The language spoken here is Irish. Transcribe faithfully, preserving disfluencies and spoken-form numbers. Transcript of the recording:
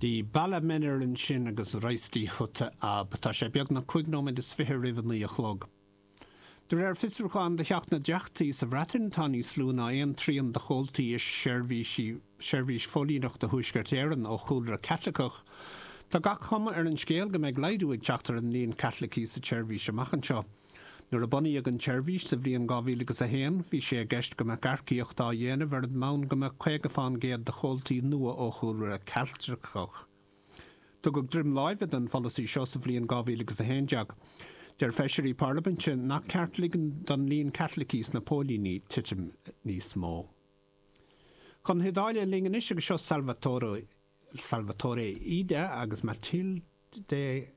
The Bala Männer ansin agus Reiß die Hütte ab. Tá sé beagnach cúig nóiméad is fiche roimh a naoi a chlog. De réir fiosrúchán de Theach na dTeachtaí sa Bhreatain tá níos lú ná aon trian de chomhaltaí i seirbhísí seirbhís phóilíneachta Thuaisceart Éireann ó chúlra Caitliceach. Tá gach cuma ar an scéal go mbeidh laghdú ag teacht ar an líon Caitlicigh sa tseirbhís amach anseo. Nuair a bunaíodh an tseirbhís sa bhliain dhá mhíle agus a haon, bhí sé i gceist go mbeadh earcaíocht á dhéanamh ar an mbonn go mbeadh caoga faoin gcéad de chomhaltaí nua ó chúlra Caitliceach. Tugadh droim láimhe don pholasaí seo sa bhliain dhá mhíle agus a haon déag. Deir feisirí parlaiminte nach ceart ligean don líon Caitlicigh sna póilíní titim níos mó. Chun na hIodáile linn anois agus seo Salvatore Salvatore Ida agus Matilde